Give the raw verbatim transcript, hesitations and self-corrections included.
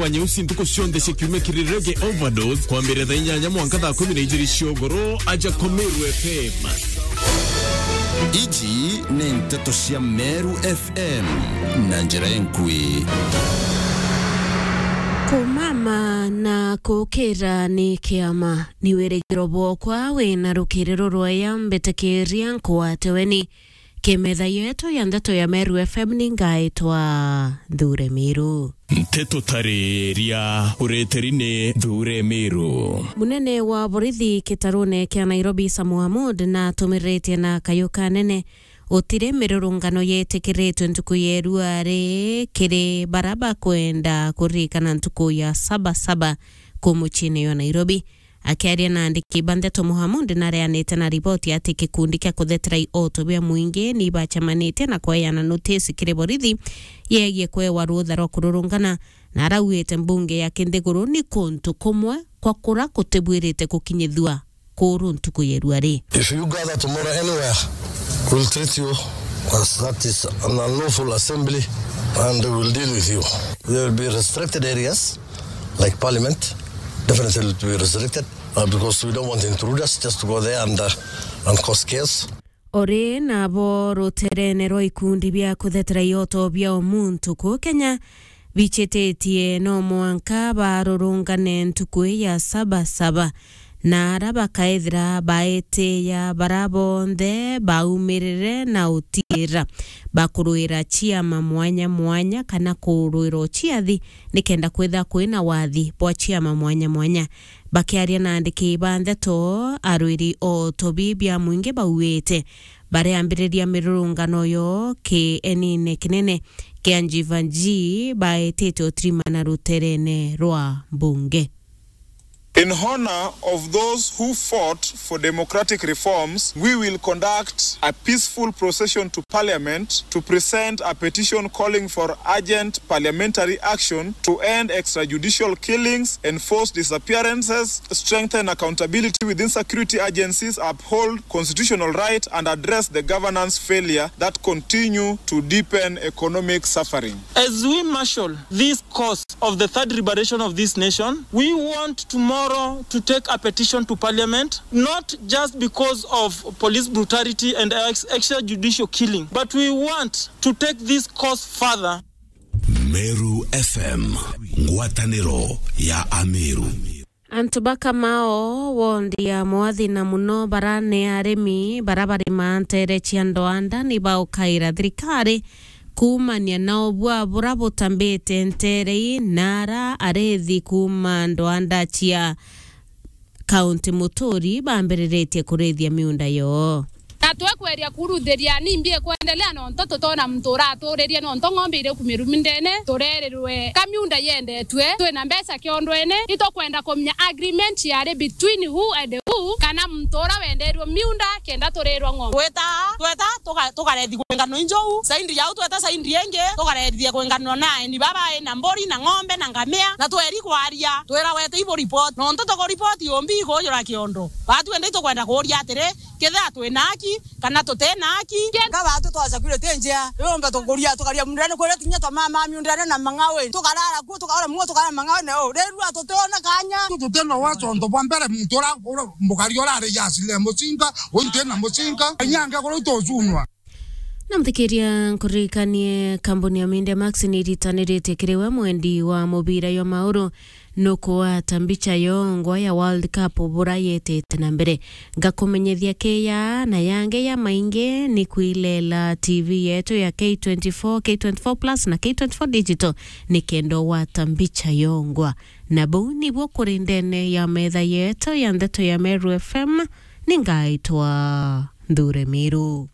wa nyeusi ntuku cionthe cia kiumia kiri Reggae Overdose, kwambiriria thaa inyanya mwanka thaa kumi na ijiri cia ugoro, aja kwa Meru F M. Iji ni nteto cia Meru F M na njira enkui. Kumama na kukira ni kiama, ni wirigiro bwokwa wina rukiriro rwaya, mbitikiria nkwate weni. Kimetha yetu ya ndeto ya Meru F M ni ngaitwa Nthure Miru. Nteto tariria ureteri ni Nthure Miru. Munene wa borithi kitarune kia Nairobi, Samu Hamud, natumiriritie na kayu kanene utiri mirurungano yetikiritwe ntuku ya irua ri kiri bara bakwenda kuririkana ntuku ya Saba Saba ku muciine jwa Nairobi. Akiaria na andiki ba ndeto, Mohamud nareanite na riboti ati gikundi kia kuthetera ioto bia mwingi ni bacemanitie na kweana notisi kiri borithi yegie kwewa rutha rwa kururungana, na araugite mbunge ya kinthiguru ni kuntu kumwe kwa kura kutibwirite gukinyithua kuru ntuku ya irua ri. If you gather tomorrow anywhere, we'll treat you as that is an unlawful assembly and we'll deal with you. There will be restricted areas like parliament, definitely will be restricted, uh, because we don't want intruders just to go there and, uh, and cause chaos. Ori nabo ruterene rwa ikundi bia kuthetera ioto bia umuntu ku Kenya bichititie no mwanka barurungane ntuku ya Saba Saba, na ara bakaethira baetiya bara bonthe baumirire na utiira bakurwira ciama mwanya mwanya kana kurwira uciathi nikenda kwithira kwina wathi bwa ciama mwanya mwanya. Bakiaria na andiki ba ndeto, arwiri o tobi bia mwingi bauite bareambiriria mirurungano yo kienine kinene kia Njivanji baetite utirimana ruterene rwa mbunge. In honor of those who fought for democratic reforms, we will conduct a peaceful procession to Parliament to present a petition calling for urgent parliamentary action to end extrajudicial killings, enforce disappearances, strengthen accountability within security agencies, uphold constitutional right, and address the governance failure that continue to deepen economic suffering. As we marshal this cause of the third liberation of this nation, we want tomorrow to take a petition to parliament, not just because of police brutality and ex-, extrajudicial killing, but we want to take this cause further. Meru F M, ngwataniro ya Ameru. Antu ba Kamao, wondi ya Mwathi, na muno bara ni arimi bara barimaa ntere cia ndwanda, ni baukaira thirikari kuumania na ubua bura butambite ntere ii, na ara arithi kuuma ndwanda cia kaunti Muturi bambiriritie kurithia miunda yoo. Na twekweria kuruthiria ni mbi ikwendelea, nontu tutona muntu uraturirie, nontu ng'ombe iri kumiru mindene, turerirwe ka miunda yendetue, twina mbeca kiondwene, itukwenda kumenya agreement yari between who and who, kana muntu ura wendeirwe miunda kenda turirwa ng'ombe. Tweta, tweta, tuka-, tukarethi kwingano injou, saindi jau tweta saindi ingi, tukarethithia kwingano na aeni baba ina mburi na ng'ombe na ngamia, na tweri kwaria, twira wete ibu report, nontu tuku report yombi ikujura kiondo. Batu ende itukwenda kuria atiri, kethira twina aki, kana tutina aki. Ka batu twaca kwire ti njia, yombe tukuria, tukaria mundene kwire tinya twa mama miundene na mangawe, tukarara kuo, tukaora muo, tukarara mangawe na o. Rirua tutiona kanya. Tutina waconto bwa mbere muntu ura, ura, mukari ura ari jasile mucinga, uyu ntina mucinga, nyange kuru tucunwa. Na muthikiria, nkuririkanie, kambuni ya Media Max ni iritaniritie kiri we mwendi wa mubira jwa mauru, nukugwata mbicha yongwa ya World Cup bura yetete na mbere. Ngakumenyethia kiya na yangi ya maingi ni kwilela T V yetu ya K twenty-four, K twenty-four Plus na K twenty-four Digital, nikenda ugwata mbicha yongwa. Na buu nibuo kuri ndene ya metha yetu ya ndeto ya Meru F M, ni ngaitwa Nthure Miru.